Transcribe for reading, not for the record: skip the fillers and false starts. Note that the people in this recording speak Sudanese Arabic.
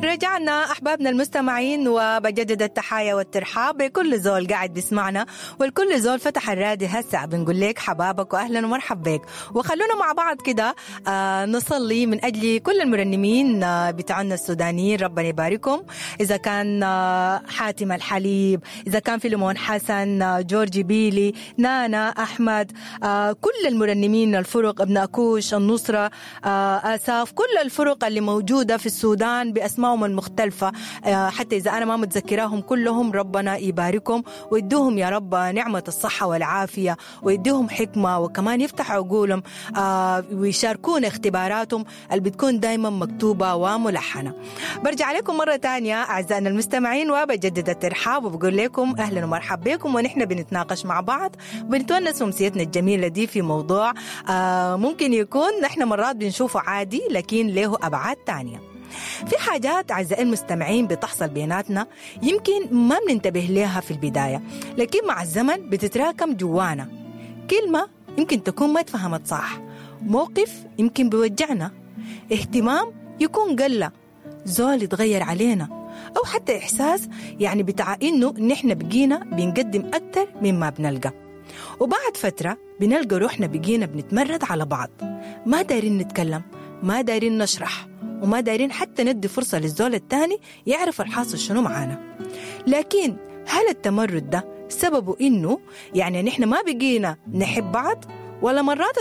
رجعنا أحبابنا المستمعين، وبجدد التحايا والترحاب بكل زول قاعد بيسمعنا والكل زول فتح الراديو هسه. بنقول لك حبابك واهلا ومرحبا بك، وخلونا مع بعض كده نصلي من اجل كل المرنمين بتاعنا السودانيين، ربنا يباركهم. اذا كان حاتم الحليب، اذا كان فيلمون حسن، جورجي بيلي، نانا احمد، كل المرنمين، الفرق ابن اكوش، النصره، اساف، كل الفرق اللي موجوده في السودان باسمائهم المختلفه، حتى اذا انا ما متذكراهم كلهم، ربنا يباركهم ويدوهم يا رب نعمه الصحه والعافيه، ويديهم حكمه، وكمان يفتح عقولهم ويشاركونا اختباراتهم اللي بتكون دايما مكتوبه وملحنه. برجع لكم مره تانية اعزائنا المستمعين وبجدد الترحاب وبقول لكم اهلا ومرحبا بكم، ونحن بنتناقش مع بعض، بنتونس امسيتنا الجميله دي في موضوع ممكن يكون نحن مرات بنشوفه عادي لكن له ابعاد تانية. في حاجات أعزائي المستمعين بتحصل بيناتنا يمكن ما بننتبه لها في البداية، لكن مع الزمن بتتراكم جوانا. كلمة يمكن تكون ما اتفهمت صح، موقف يمكن بيوجعنا، اهتمام يكون قلة، زول يتغير علينا، أو حتى إحساس يعني بتاع إنه نحن بقينا بنقدم أكتر مما بنلقى. وبعد فترة بنلقى روحنا بقينا بنتمرد على بعض، ما دايرين نتكلم، ما دايرين نشرح، وما دايرين حتى ندي فرصة للزول التاني يعرف الحاصل شنو معانا. لكن هل التمرد ده سببه إنه يعني نحن ما بقينا نحب بعض، ولا مرات